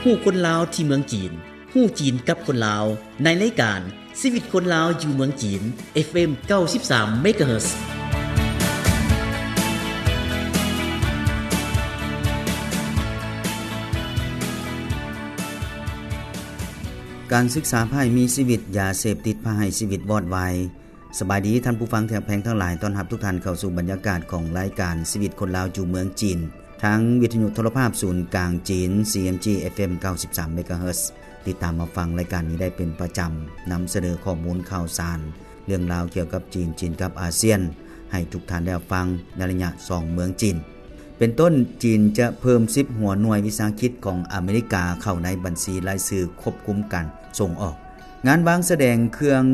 ຮູ້ຄົນລາວທີ່ເມືອງຈີນ, ຮູ້ຈີນກັບຄົນລາວ ໃນລາຍການ ຊີວິດຄົນລາວຢູ່ເມືອງຈີນ ເອັຟເອັມ ເກົ້າສິບສາມ ເມກາເຮີດ. ການສຶກສາພາໃຫ້ມີຊີວິດ, ຢາເສບຕິດພາໃຫ້ຊີວິດວອດວາຍ. ສະບາຍດີທ່ານຜູ້ຟັງທີ່ຮັກແພງທັງຫຼາຍ, ຕ້ອນຮັບທຸກທ່ານເຂົ້າສູ່ບັນຍາກາດຂອງລາຍການຊີວິດຄົນລາວຢູ່ເມືອງຈີນ ທາງວິທະຍຸໂທລະພາບສູນກາງຈີນ ຊີເອັມຈີ ເອັຟເອັມ ເກົ້າສິບສາມ ເມກາເຮີດ. ຕິດຕາມຮັບຟັງລາຍການນີ້ໄດ້ເປັນປະຈຳ, ນຳສະເໜີຂໍ້ມູນຂ່າວສານ ເລື່ອງລາວກ່ຽວກັບຈີນ, ຈີນກັບອາຊຽນ ໃຫ້ທຸກທ່ານໄດ້ຮັບຟັງໃນໄລຍະສ່ອງເມືອງຈີນ. ເປັນຕົ້ນ, ຈີນຈະເພີ່ມສິບຫົວໜ່ວຍວິສາຫະກິດຂອງອາເມລິກາເຂົ້າໃນບັນຊີລາຍຊື່ຄວບຄຸມການສົ່ງອອກ. ງານວາງສະແດງເຄື່ອງ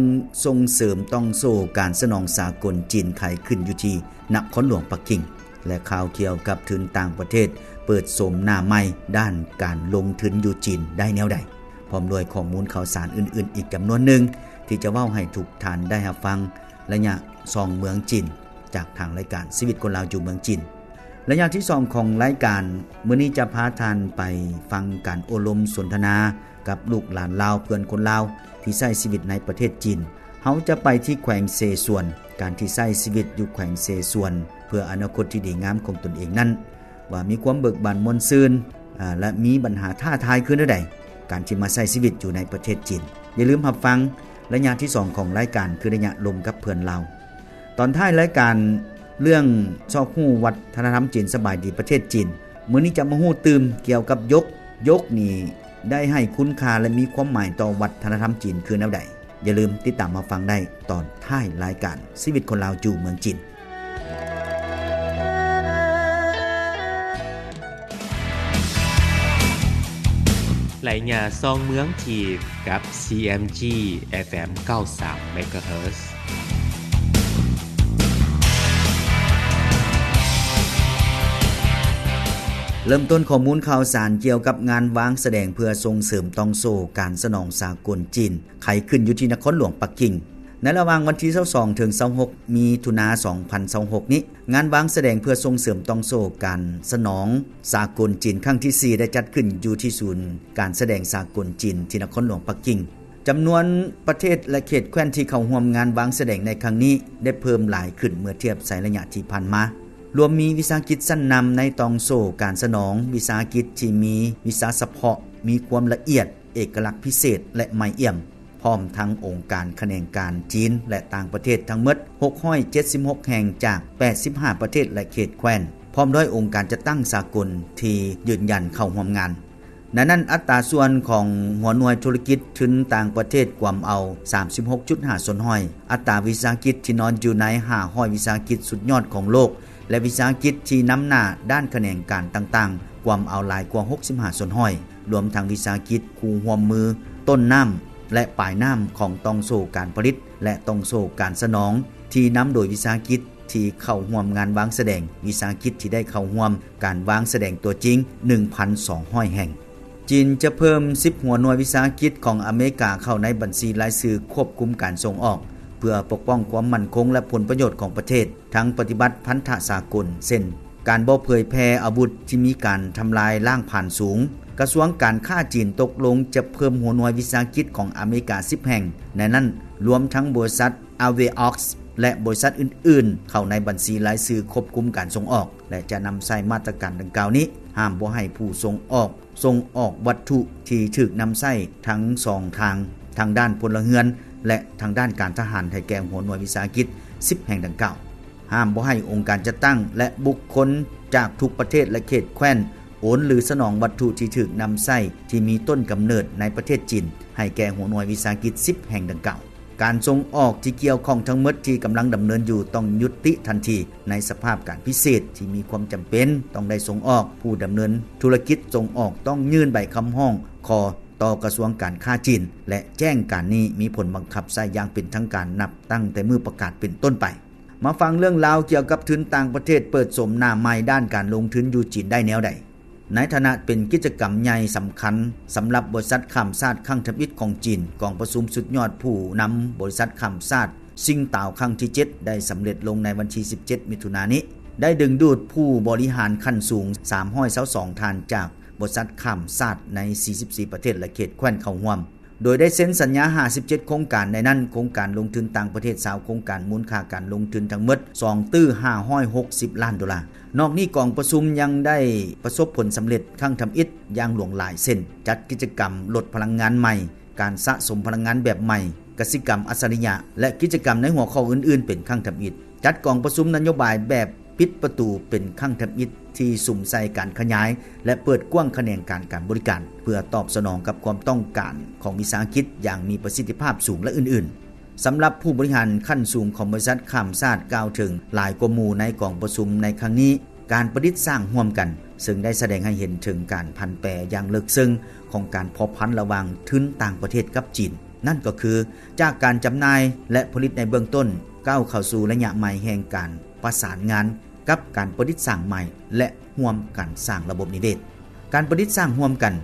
ສົ່ງເສີມຕ່ອງໂສ້ການສະໜອງສາກົນຈີນໄຂຂຶ້ນຢູ່ທີ່ນະຄອນຫຼວງປັກກິ່ງ ແລະ ຂ່າວກ່ຽວກັບທຶນຕ່າງປະເທດເປີດໂສມໜ້າໃໝ່ດ້ານການລົງທຶນຢູ່ຈີນໄດ້ແນວໃດ, ພ້ອມດ້ວຍຂໍ້ມູນຂ່າວສານອື່ນໆອີກຈຳນວນໜຶ່ງ ທີ່ຈະເວົ້າໃຫ້ທຸກທ່ານໄດ້ຮັບຟັງໄລຍະສ່ອງເມືອງຈີນ ຈາກທາງລາຍການຊີວິດຄົນລາວຢູ່ເມືອງຈີນ. ໄລຍະທີສອງຂອງລາຍການມື້ນີ້ຈະພາທ່ານໄປຟັງການໂອ້ລົມສົນທະນາກັບລູກຫຼານລາວ, ເພື່ອນຄົນລາວທີ່ໃຊ້ຊີວິດໃນປະເທດຈີນ. ເຮົາຈະໄປທີ່ແຂວງເຊຊວນ, ການທີ່ໃຊ້ຊີວິດຢູ່ແຂວງເຊຊວນ ເພື່ອອະນາຄົດທີ່ດີງາມຂອງຕົນເອງນັ້ນ ວ່າມີຄວາມເບີກບານມ່ວນຊື່ນ ອາ ແລະ ມີບັນຫາທ້າທາຍຄືແນວໃດ ການທີ່ມາໃຊ້ຊີວິດຢູ່ໃນປະເທດຈີນ. ຢ່າລືມຮັບຟັງໄລຍະທີສອງຂອງລາຍການ ຄືໄລຍະລົມກັບເພື່ອນລາວ. ຕອນທ້າຍລາຍການ ເລື່ອງຊອກຮູ້ວັດທະນະທຳຈີນ. ສະບາຍດີປະເທດຈີນ, ມື້ນີ້ຈະມາຮູ້ຕື່ມກ່ຽວກັບຢົກ. ຢົກນີ້ໄດ້ໃຫ້ຄຸນຄ່າ ແລະ ມີຄວາມໝາຍຕໍ່ວັດທະນະທຳຈີນຄືແນວໃດ? ຢ່າລືມຕິດຕາມຮັບຟັງໄດ້ຕອນທ້າຍລາຍການຊີວິດຄົນລາວຢູ່ເມືອງຈີນ. ໄລຍະສ່ອງເມືອງຈີນ ກັບ ຊີເອັມຈີ ເອັຟເອັມ ເກົ້າສິບສາມ ເມກາເຮີດ. ເລີ່ມຕົ້ນຂໍ້ມູນຂ່າວສານກ່ຽວກັບງານວາງສະແດງເພື່ອສົ່ງເສີມຕ່ອງໂສ້ການສະໜອງສາກົນຈີນ ໄຂຂຶ້ນຢູ່ທີ່ນະຄອນຫຼວງປັກກິ່ງ. ໃນລະຫວ່າງວັນທີຊາວສອງ ເຖິງ ຊາວຫົກ ມິຖຸນາ ສອງພັນຊາວຫົກນີ້, ງານວາງສະແດງເພື່ອສົ່ງເສີມຕ່ອງໂສ້ການສະໜອງສາກົນຈີນຄັ້ງທີສີ່ ໄດ້ຈັດຂຶ້ນຢູ່ທີ່ສູນການສະແດງສາກົນຈີນທີ່ນະຄອນຫຼວງປັກກິ່ງ. ຈຳນວນປະເທດ ແລະ ເຂດແຄວ້ນທີ່ເຂົ້າຮ່ວມງານວາງສະແດງໃນຄັ້ງນີ້ ໄດ້ເພີ່ມຫຼາຍຂຶ້ນເມື່ອທຽບໃສ່ໄລຍະທີ່ຜ່ານມາ, ລວມມີວິສາຫະກິດຊັ້ນນຳໃນຕ່ອງໂສ້ການສະໜອງ, ວິສາຫະກິດທີ່ມີວິຊາສະເພາະ, ມີຄວາມລະອຽດ, ເອກະລັກພິເສດ ແລະ ໃໝ່ອ່ຽມ, ພ້ອມທັງອົງການຂະແໜງການຈີນ ແລະ ຕ່າງປະເທດທັງໝົດ ຫົກຮ້ອຍເຈັດສິບຫົກແຫ່ງ ຈາກ ແປດສິບຫ້າປະເທດ ແລະ ເຂດແຄວ້ນ, ພ້ອມດ້ວຍອົງການຈັດຕັ້ງສາກົນທີ່ຢືນຢັນເຂົ້າຮ່ວມງານ. ໃນນັ້ນ, ອັດຕາສ່ວນຂອງຫົວໜ່ວຍທຸລະກິດທຶນຕ່າງປະເທດກວມເອົາ ສາມສິບຫົກຈຸດຫ້າສ່ວນຮ້ອຍ, ອັດຕາວິສາຫະກິດທີ່ນອນຢູ່ໃນ ຫ້າຮ້ອຍວິສາຫະກິດສຸດຍອດຂອງໂລກ ແລະ ວິສາຫະກິດທີ່ນຳໜ້າດ້ານຂະແໜງການຕ່າງໆ ກວມເອົາຫຼາຍກວ່າ ຫົກສິບຫ້າສ່ວນຮ້ອຍ, ລວມທັງວິສາຫະກິດຄູ່ຮ່ວມມືຕົ້ນນ້ຳ ແລະ ປາຍນ້ຳຂອງຕ່ອງໂສ້ການຜະລິດ ແລະ ຕ່ອງໂສ້ການສະໜອງ ທີ່ນຳໂດຍວິສາຫະກິດທີ່ເຂົ້າຮ່ວມງານວາງສະແດງ, ວິສາຫະກິດທີ່ໄດ້ເຂົ້າຮ່ວມການວາງສະແດງຕົວຈິງ ໜຶ່ງພັນສອງຮ້ອຍແຫ່ງ. ຈີນຈະເພີ່ມສິບຫົວໜ່ວຍວິສາຫະກິດຂອງອາເມລິກາເຂົ້າໃນບັນຊີລາຍຊື່ຄວບຄຸມການສົ່ງອອກ ເພື່ອປົກປ້ອງຄວາມໝັ້ນຄົງ ແລະ ຜົນປະໂຫຍດຂອງປະເທດ. ທັງປະຕິບັດພັນທະສາກົນ ເຊັ່ນ ການບໍ່ເຜີຍແຜ່ອາວຸດທີ່ມີການທຳລາຍລ້າງຜານສູງ. ກະຊວງການຄ້າຈີນຕົກລົງຈະເພີ່ມຫົວໜ່ວຍວິສາຫະກິດຂອງອາເມລິກາສິບແຫ່ງ, ໃນນັ້ນລວມທັງບໍລິສັດ Aveox ແລະ ບໍລິສັດອື່ນໆ ເຂົ້າໃນບັນຊີລາຍຊື່ຄວບຄຸມການສົ່ງອອກ ແລະ ຈະນຳໃຊ້ມາດຕະການດັ່ງກ່າວນີ້ ຫ້າມບໍ່ໃຫ້ຜູ້ສົ່ງອອກ ສົ່ງອອກວັດຖຸທີ່ຖືກນຳໃຊ້ທັງສອງທາງ, ທາງດ້ານພົນລະເຮືອນ ແລະ ທາງດ້ານການທະຫານ ໃຫ້ແກ່ຫົວໜ່ວຍວິສາຫະກິດສິບແຫ່ງດັ່ງກ່າວ. ຫ້າມບໍ່ໃຫ້ອົງການຈັດຕັ້ງ ແລະ ບຸກຄົນຈາກທຸກປະເທດ ແລະ ເຂດແຄວ້ນ ໂອນ ຫຼື ສະໜອງວັດຖຸທີ່ຖືກນຳໃຊ້ທີ່ມີຕົ້ນກຳເນີດໃນປະເທດຈີນ ໃຫ້ແກ່ຫົວໜ່ວຍວິສາຫະກິດສິບແຫ່ງດັ່ງກ່າວ. ການສົ່ງອອກທີ່ກ່ຽວຂ້ອງທັງໝົດທີ່ກຳລັງດຳເນີນຢູ່ຕ້ອງຢຸດຕິທັນທີ. ໃນສະພາບການພິເສດທີ່ມີຄວາມຈຳເປັນຕ້ອງໄດ້ສົ່ງອອກ, ຜູ້ດຳເນີນທຸລະກິດສົ່ງອອກຕ້ອງຍື່ນໃບຄຳຮ້ອງຂໍຕໍ່ກະຊວງການຄ້າຈີນ ແລະ ແຈ້ງການນີ້ມີຜົນບັງຄັບໃຊ້ຢ່າງເປັນທາງການນັບຕັ້ງແຕ່ມື້ປະກາດເປັນຕົ້ນໄປ. ມາຟັງເລື່ອງລາວກ່ຽວກັບທຶນຕ່າງປະເທດເປີດໂສມໜ້າໃໝ່ດ້ານການລົງທຶນຢູ່ຈີນໄດ້ແນວໃດ. ໃນຖານະເປັນກິດຈະກຳໃຫຍ່ສຳຄັນສຳລັບບໍລິສັດຂ້າມຊາດຄັ້ງທຳອິດຂອງຈີນ, ກອງປະຊຸມສຸດຍອດຜູ້ນຳບໍລິສັດຂ້າມຊາດຊິງຕາວຄັ້ງທີເຈັດ ໄດ້ສຳເລັດລົງໃນວັນທີສິບເຈັດ ມິຖຸນານີ້, ໄດ້ດຶງດູດຜູ້ບໍລິຫານຂັ້ນສູງສາມຮ້ອຍຊາວສອງທ່ານຈາກ ບໍລິສັດຂ້າມຊາດໃນສີ່ສິບສີ່ປະເທດ ແລະ ເຂດແຄວ້ນເຂົ້າຮ່ວມ, ໂດຍໄດ້ເຊັນສັນຍາຫ້າສິບເຈັດໂຄງການ, ໃນນັ້ນໂຄງການລົງທຶນຕ່າງປະເທດຊາວໂຄງການ, ມູນຄ່າການລົງທຶນທັງໝົດສອງຕື້ຫ້າຮ້ອຍຫົກສິບລ້ານໂດລາ. ນອກນີ້ກອງປະຊຸມຍັງໄດ້ປະສົບຜົນສຳເລັດຄັ້ງທຳອິດຢ່າງຫຼວງຫຼາຍ ເຊັ່ນ ຈັດກິດຈະກຳລົດພະລັງງານໃໝ່, ການສະສົມພະລັງງານແບບໃໝ່, ກະສິກຳອັດສະລິຍະ ແລະ ກິດຈະກຳໃນຫົວຂໍ້ອື່ນໆເປັນຄັ້ງທຳອິດ, ຈັດກອງປະຊຸມນະໂຍບາຍແບບປິດປະຕູເປັນຄັ້ງທຳອິດ ທີ່ສຸມໃສ່ການຂະຫຍາຍ ແລະ ເປີດກວ້າງຂະແໜງການການບໍລິການ ເພື່ອຕອບສະໜອງກັບຄວາມຕ້ອງການຂອງວິສາຫະກິດຢ່າງມີປະສິດທິພາບສູງ ແລະ ອື່ນໆ. ສຳລັບຜູ້ບໍລິຫານຂັ້ນສູງຂອງບໍລິສັດຂ້າມຊາດກ່າວເຖິງຫຼາຍກວ່າໝູ່ໃນກອງປະຊຸມໃນຄັ້ງນີ້, ການປະດິດສ້າງຮ່ວມກັນ, ເຊິ່ງໄດ້ສະແດງໃຫ້ເຫັນເຖິງການຜັນແປຢ່າງເລິກເຊິ່ງຂອງການພົວພັນລະຫວ່າງທຶນຕ່າງປະເທດກັບຈີນ, ນັ້ນກໍຄື ຈາກການຈຳໜ່າຍ ແລະ ຜະລິດໃນເບື້ອງຕົ້ນ ກ້າວເຂົ້າສູ່ໄລຍະໃໝ່ແຫ່ງການປະສານງານກັບການປະດິດສ້າງໃໝ່ ແລະ ຮ່ວມກັນສ້າງລະບົບນິເວດ. ການປະດິດສ້າງຮ່ວມກັນ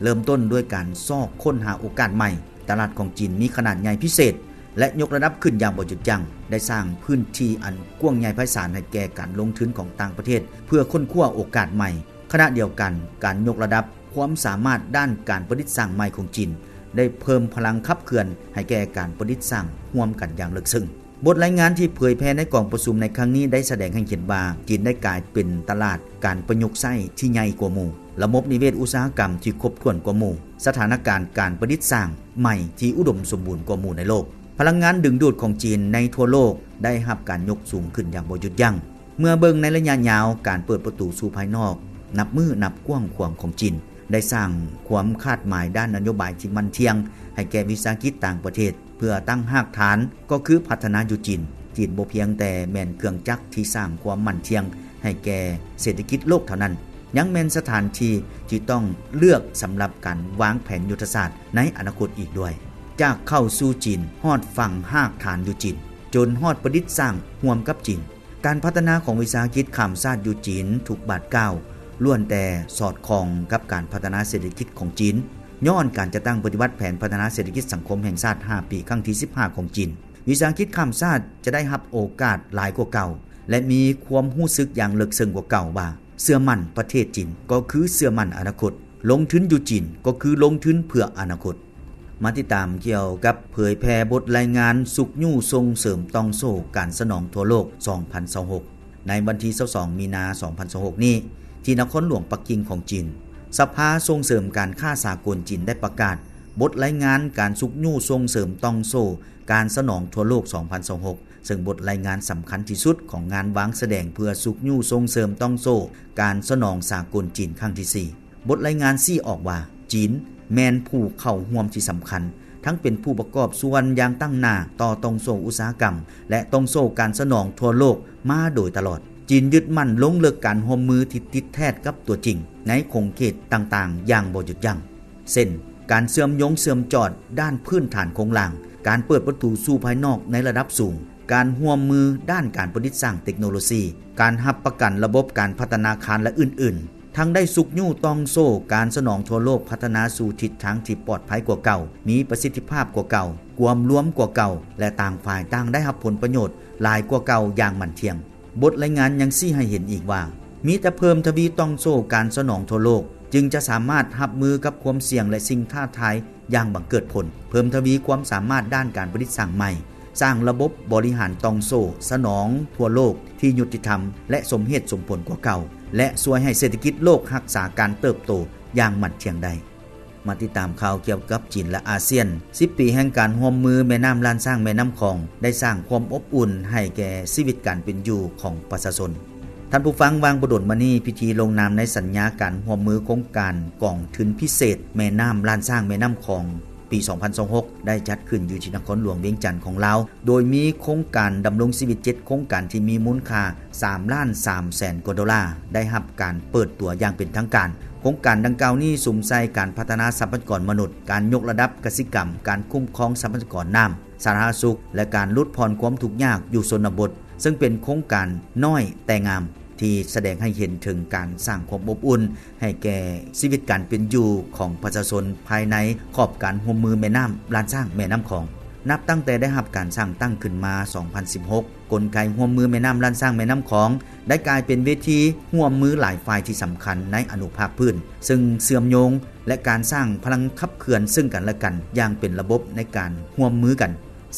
ເລີ່ມຕົ້ນດ້ວຍການຊອກຄົ້ນຫາໂອກາດໃໝ່. ຕະຫຼາດຂອງຈີນມີຂະໜາດໃຫຍ່ພິເສດ ແລະ ຍົກລະດັບຂຶ້ນຢ່າງບໍ່ຢຸດຢັ້ງ, ໄດ້ສ້າງພື້ນທີ່ອັນກວ້າງໃຫຍ່ໄພສານໃຫ້ແກ່ການລົງທຶນຂອງຕ່າງປະເທດ ເພື່ອຄົ້ນຄວ້າໂອກາດໃໝ່. ຂະນະດຽວກັນ, ການຍົກລະດັບຄວາມສາມາດດ້ານການປະດິດສ້າງໃໝ່ຂອງຈີນ ໄດ້ເພີ່ມພະລັງຂັບເຄື່ອນໃຫ້ແກ່ການປະດິດສ້າງຮ່ວມກັນຢ່າງເລິກເຊິ່ງ. ບົດລາຍງານທີ່ເຜີຍແຜ່ໃນກອງປະຊຸມໃນຄັ້ງນີ້ໄດ້ສະແດງໃຫ້ເຫັນວ່າ ຈີນໄດ້ກາຍເປັນຕະຫຼາດການປະຍຸກໃຊ້ທີ່ໃຫຍ່ກວ່າໝູ່. ລະບົບນິເວດອຸດສາຫະກຳທີ່ຄົບຖ້ວນກວ່າໝູ່, ສະຖານະການການປະດິດສ້າງໃໝ່ທີ່ອຸດົມສົມບູນກວ່າໝູ່ໃນໂລກ, ພະລັງງານດຶງດູດຂອງຈີນໃນທົ່ວໂລກໄດ້ຮັບການຍົກສູງຂຶ້ນຢ່າງບໍ່ຢຸດຢັ້ງ. ເມື່ອເບິ່ງໃນໄລຍະຍາວ, ການເປີດປະຕູສູ່ພາຍນອກນັບມື້ນັບກວ້າງຂວາງຂອງຈີນ ໄດ້ສ້າງຄວາມຄາດໝາຍດ້ານນະໂຍບາຍທີ່ໝັ້ນທ່ຽງໃຫ້ແກ່ວິສາຫະກິດຕ່າງປະເທດ ເພື່ອຕັ້ງຮາກຖານກໍຄືພັດທະນາຢູ່ຈີນ. ຈີນບໍ່ພຽງແຕ່ແມ່ນເຄື່ອງຈັກທີ່ສ້າງຄວາມໝັ້ນທ່ຽງໃຫ້ແກ່ເສດຖະກິດໂລກເທົ່ານັ້ນ, ຍັງແມ່ນສະຖານທີ່ທີ່ຕ້ອງເລືອກສຳລັບການວາງແຜນຍຸດທະສາດໃນອະນາຄົດອີກດ້ວຍ. ຈາກເຂົ້າສູ່ຈີນ, ຮອດຝັງຮາກຖານຢູ່ຈີນ, ຈົນຮອດປະດິດສ້າງຮ່ວມກັບຈີນ. ການພັດທະນາຂອງວິສາຫະກິດຂ້າມຊາດຢູ່ຈີນທຸກບາດກ້າວ ລ້ວນແຕ່ສອດຄ່ອງກັບການພັດທະນາເສດຖະກິດຂອງຈີນ, ຍ້ອນການຈັດຕັ້ງປະຕິບັດແຜນພັດທະນາເສດຖະກິດສັງຄົມແຫ່ງຊາດຫ້າປີ ຄັ້ງທີສິບຫ້າຂອງຈີນ, ວິສາຫະກິດຂ້າມຊາດຈະໄດ້ຮັບໂອກາດຫຼາຍກວ່າເກົ່າ ແລະ ມີຄວາມຮູ້ສຶກຢ່າງເລິກເຊິ່ງກວ່າເກົ່າວ່າ ເຊື່ອໝັ້ນປະເທດຈີນກໍຄືເຊື່ອໝັ້ນອະນາຄົດ, ລົງທຶນຢູ່ຈີນກໍຄືລົງທຶນເພື່ອອະນາຄົດ. ມາຕິດຕາມກ່ຽວກັບເຜີຍແຜ່ບົດລາຍງານຊຸກຍູ້ສົ່ງເສີມຕ່ອງໂສ້ການສະໜອງທົ່ວໂລກ ສອງພັນຊາວຫົກ ໃນວັນທີຊາວສອງ ມີນາ ສອງພັນຊາວຫົກນີ້ ທີ່ນະຄອນຫຼວງປັກກິ່ງຂອງຈີນ, ສະພາສົ່ງເສີມການຄ້າສາກົນຈີນໄດ້ປະກາດບົດລາຍງານການຊຸກຍູ້ສົ່ງເສີມຕ່ອງໂສ້ການສະໜອງທົ່ວໂລກ ສອງພັນຊາວຫົກ ເຊິ່ງບົດລາຍງານສຳຄັນທີ່ສຸດຂອງງານວາງສະແດງເພື່ອຊຸກຍູ້ສົ່ງເສີມຕ່ອງໂສ້ການສະໜອງສາກົນຈີນຄັ້ງທີສີ່. ບົດລາຍງານຊີ້ອອກວ່າ ຈີນແມ່ນຜູ້ເຂົ້າຮ່ວມທີ່ສຳຄັນ, ທັງເປັນຜູ້ປະກອບສ່ວນຢ່າງຕັ້ງໜ້າຕໍ່ຕ່ອງໂສ້ອຸດສາຫະກຳ ແລະ ຕ່ອງໂສ້ການສະໜອງທົ່ວໂລກມາໂດຍຕະຫຼອດ. ຈີນຍຶດໝັ້ນລົງເລິກການຮ່ວມມືທີ່ຕິດແທດກັບຕົວຈິງໃນຂົງເຂດຕ່າງໆຢ່າງບໍ່ຢຸດຢັ້ງ, ເຊັ່ນ ການເຊື່ອມໂຍງເຊື່ອມຈອດດ້ານພື້ນຖານໂຄງລ່າງ, ການເປີດປະຕູສູ່ພາຍນອກໃນລະດັບສູງ, ການຮ່ວມມືດ້ານການປະດິດສ້າງເຕັກໂນໂລຊີ, ການຮັບປະກັນລະບົບການພັດທະນາຄານ ແລະ ອື່ນໆ. ທັງໄດ້ຊຸກຍູ້ຕ່ອງໂສ້ການສະໜອງທົ່ວໂລກພັດທະນາສູ່ທິດທາງທີ່ປອດໄພກວ່າເກົ່າ, ມີປະສິດທິພາບກວ່າເກົ່າ, ກວມລວມກວ່າເກົ່າ ແລະ ຕ່າງຝ່າຍຕ່າງໄດ້ຮັບຜົນປະໂຫຍດຫຼາຍກວ່າເກົ່າຢ່າງໝັ້ນທ່ຽງ. ບົດລາຍງານຍັງຊີ້ໃຫ້ເຫັນອີກວ່າ ມີແຕ່ເພີ່ມທະວີຕ່ອງໂສ້ການສະໜອງທົ່ວໂລກ ຈຶ່ງຈະສາມາດຮັບມືກັບຄວາມສ່ຽງ ແລະ ສິ່ງທ້າທາຍຢ່າງບັງເກີດຜົນ, ເພີ່ມທະວີຄວາມສາມາດດ້ານການປະດິດສ້າງໃໝ່, ສ້າງລະບົບບໍລິຫານຕ່ອງໂສ້ສະໜອງທົ່ວໂລກທີ່ຍຸຕິທຳ ແລະ ສົມເຫດສົມຜົນກວ່າເກົ່າ ແລະ ຊ່ວຍໃຫ້ເສດຖະກິດໂລກຮັກສາການເຕີບໂຕຢ່າງໝັ້ນທ່ຽງໄດ້. ມາຕິດຕາມຂ່າວກ່ຽວກັບຈີນ ແລະ ອາຊຽນ. ສິບປີແຫ່ງການຮ່ວມມືແມ່ນ້ຳລ້ານຊ້າງແມ່ນ້ຳຂອງ ໄດ້ສ້າງຄວາມອົບອຸ່ນໃຫ້ແກ່ຊີວິດການເປັນຢູ່ຂອງປະຊາຊົນ. ທ່ານຜູ້ຟັງ, ວ່າງບໍ່ດົນມານີ້, ພິທີລົງນາມໃນສັນຍາການຮ່ວມມືໂຄງການກອງທຶນພິເສດແມ່ນ້ຳລ້ານຊ້າງແມ່ນ້ຳຂອງ ປີສອງພັນຊາວຫົກ ໄດ້ຈັດຂຶ້ນຢູ່ທີ່ນະຄອນຫຼວງວຽງຈັນຂອງລາວ, ໂດຍມີໂຄງການດຳລົງຊີວິດເຈັດໂຄງການທີ່ມີມູນຄ່າສາມລ້ານສາມແສນກວ່າໂດລາ ໄດ້ຮັບການເປີດຕົວຢ່າງເປັນທາງການ. ໂຄງການດັ່ງກ່າວນີ້ສຸມໃສ່ການພັດທະນາຊັບພະຍາກອນມະນຸດ, ການຍົກລະດັບກະສິກຳ, ການຄຸ້ມຄອງຊັບພະຍາກອນນ້ຳ, ສາທາລະນະສຸກ ແລະ ການຫຼຸດຜ່ອນຄວາມທຸກຍາກຢູ່ຊົນນະບົດ, ເຊິ່ງເປັນໂຄງການນ້ອຍແຕ່ງາມ ທີ່ສະແດງໃຫ້ເຫັນເຖິງການສ້າງຄວາມອົບອຸ່ນໃຫ້ແກ່ຊີວິດການເປັນຢູ່ຂອງປະຊາຊົນພາຍໃນຂອບການຮ່ວມມືແມ່ນ້ຳລ້ານຊ້າງແມ່ນ້ຳຂອງ. ນັບຕັ້ງແຕ່ໄດ້ຮັບການສ້າງຕັ້ງຂຶ້ນມາ ສອງພັນສິບຫົກ ກົນໄກຮ່ວມມືແມ່ນ້ຳລ້ານຊ້າງແມ່ນ້ຳຂອງ ໄດ້ກາຍເປັນເວທີຮ່ວມມືຫຼາຍຝ່າຍທີ່ສຳຄັນໃນອະນຸພາກພື້ນ ເຊິ່ງເຊື່ອມໂຍງ ແລະ ການສ້າງພະລັງຂັບເຄື່ອນເຊິ່ງກັນແລະກັນຢ່າງເປັນລະບົບໃນການຮ່ວມມືກັນ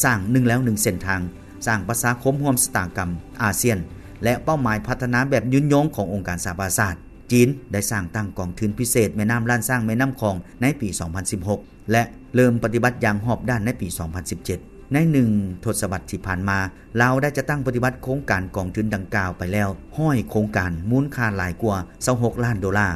ສ້າງໜຶ່ງແລວໜຶ່ງເສັ້ນທາງ, ສ້າງປະຊາຄົມຮ່ວມຊະຕາກຳອາຊຽນ ແລະ ເປົ້າໝາຍພັດທະນາແບບຍືນຍົງຂອງອົງການສະຫະປະຊາຊາດ. ຈີນໄດ້ສ້າງຕັ້ງກອງທຶນພິເສດແມ່ນ້ຳລ້ານຊ້າງແມ່ນ້ຳຂອງໃນປີສອງພັນສິບຫົກ ແລະ ເລີ່ມປະຕິບັດຢ່າງຮອບດ້ານໃນປີສອງພັນສິບເຈັດ. ໃນໜຶ່ງທົດສະວັດທີ່ຜ່ານມາ, ລາວໄດ້ຈັດຕັ້ງປະຕິບັດໂຄງການກອງທຶນດັ່ງກ່າວໄປແລ້ວຮ້ອຍໂຄງການ, ມູນຄ່າຫຼາຍກວ່າຊາວຫົກລ້ານໂດລາ,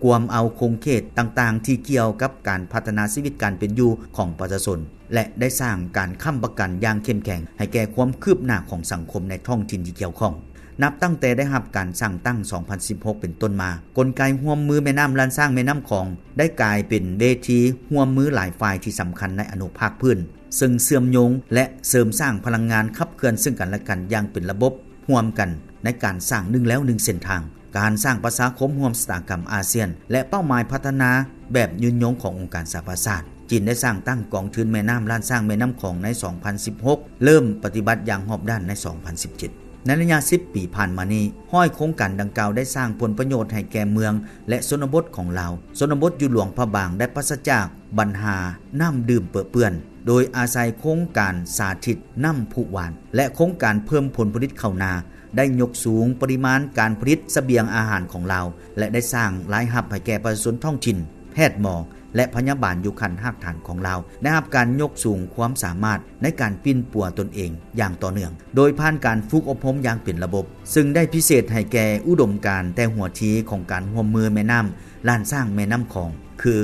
ກວມເອົາຂົງເຂດຕ່າງໆທີ່ກ່ຽວກັບການພັດທະນາຊີວິດການເປັນຢູ່ຂອງປະຊາຊົນ ແລະ ໄດ້ສ້າງການຄ້ຳປະກັນຢ່າງເຂັ້ມແຂງໃຫ້ແກ່ຄວາມຄືບໜ້າຂອງສັງຄົມໃນທ້ອງຖິ່ນທີ່ກ່ຽວຂ້ອງ. ນັບຕັ້ງແຕ່ໄດ້ຮັບການສ້າງຕັ້ງສອງພັນສິບຫົກເປັນຕົ້ນມາ, ກົນໄກຮ່ວມມືແມ່ນ້ຳລ້ານຊ້າງແມ່ນ້ຳຂອງ ໄດ້ກາຍເປັນເວທີຮ່ວມມືຫຼາຍຝ່າຍທີ່ສຳຄັນໃນອະນຸພາກພື້ນ ເຊິ່ງເຊື່ອມໂຍງ ແລະ ເສີມສ້າງພະລັງງານຂັບເຄື່ອນເຊິ່ງກັນແລະກັນຢ່າງເປັນລະບົບຮ່ວມກັນ ໃນການສ້າງໜຶ່ງແລວໜຶ່ງເສັ້ນທາງ, ການສ້າງປະຊາຄົມຮ່ວມຊະຕາກຳອາຊຽນ ແລະ ເປົ້າໝາຍພັດທະນາແບບຍືນຍົງຂອງອົງການສະຫະປະຊາຊາດ. ຈີນໄດ້ສ້າງຕັ້ງກອງທຶນແມ່ນ້ຳລ້ານຊ້າງແມ່ນ້ຳຂອງໃນສອງພັນສິບຫົກ ເລີ່ມປະຕິບັດຢ່າງຮອບດ້ານໃນສອງພັນສິບເຈັດ. ໃນໄລຍະສິບປີຜ່ານມານີ້, ຮ້ອຍໂຄງການດັ່ງກ່າວໄດ້ສ້າງຜົນປະໂຫຍດໃຫ້ແກ່ເມືອງ ແລະ ຊົນນະບົດຂອງລາວ. ຊົນນະບົດຢູ່ຫຼວງພະບາງໄດ້ປາສະຈາກບັນຫານ້ຳດື່ມເປິເປື້ອນ ໂດຍອາໄສໂຄງການສາທິດນ້ຳພຸຫວານ ແລະ ໂຄງການເພີ່ມຜົນຜະລິດເຂົ້ານາ ໄດ້ຍົກສູງປະລິມານການຜະລິດສະບຽງອາຫານຂອງລາວ ແລະ ໄດ້ສ້າງລາຍຮັບໃຫ້ແກ່ປະຊາຊົນທ້ອງຖິ່ນ, ແພດໝໍ ແລະ ພະຍາບານຢູ່ຂັ້ນຮາກຖານຂອງລາວ ໄດ້ຮັບການຍົກສູງຄວາມສາມາດໃນການປິ່ນປົວຕົນເອງຢ່າງຕໍ່ເນື່ອງ ໂດຍຜ່ານການຝຶກອົບຮົມຢ່າງເປັນລະບົບ, ເຊິ່ງໄດ້ພິເສດໃຫ້ແກ່ອຸດົມການແຕ່ຫົວທີຂອງການຮ່ວມມືແມ່ນ້ຳລ້ານຊ້າງແມ່ນ້ຳຂອງ ຄື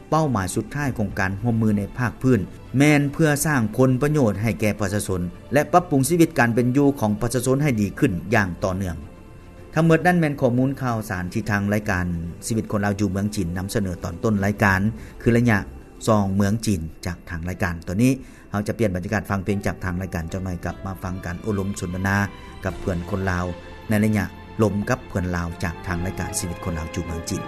ເປົ້າໝາຍສຸດທ້າຍຂອງການຮ່ວມມືໃນພາກພື້ນ ແມ່ນເພື່ອສ້າງຜົນປະໂຫຍດໃຫ້ແກ່ປະຊາຊົນ ແລະ ປັບປຸງຊີວິດການເປັນຢູ່ຂອງປະຊາຊົນໃຫ້ດີຂຶ້ນຢ່າງຕໍ່ເນື່ອງ. ທັງໝົດນັ້ນແມ່ນຂໍ້ມູນຂ່າວສານທີ່ທາງລາຍການຊີວິດຄົນລາວຢູ່ເມືອງຈີນນຳສະເໜີຕອນຕົ້ນລາຍການ ຄືໄລຍະສ່ອງເມືອງຈີນຈາກທາງລາຍການ. ຕອນນີ້ເຮົາຈະປ່ຽນບັນຍາກາດຟັງເພງຈາກທາງລາຍການຈັກໜ່ອຍ, ກັບມາຟັງການໂອ້ລົມສົນທະນາກັບເພື່ອນຄົນລາວ ໃນໄລຍະລົມກັບເພື່ອນລາວຈາກທາງລາຍການຊີວິດຄົນລາວຢູ່ເມືອງຈີນ.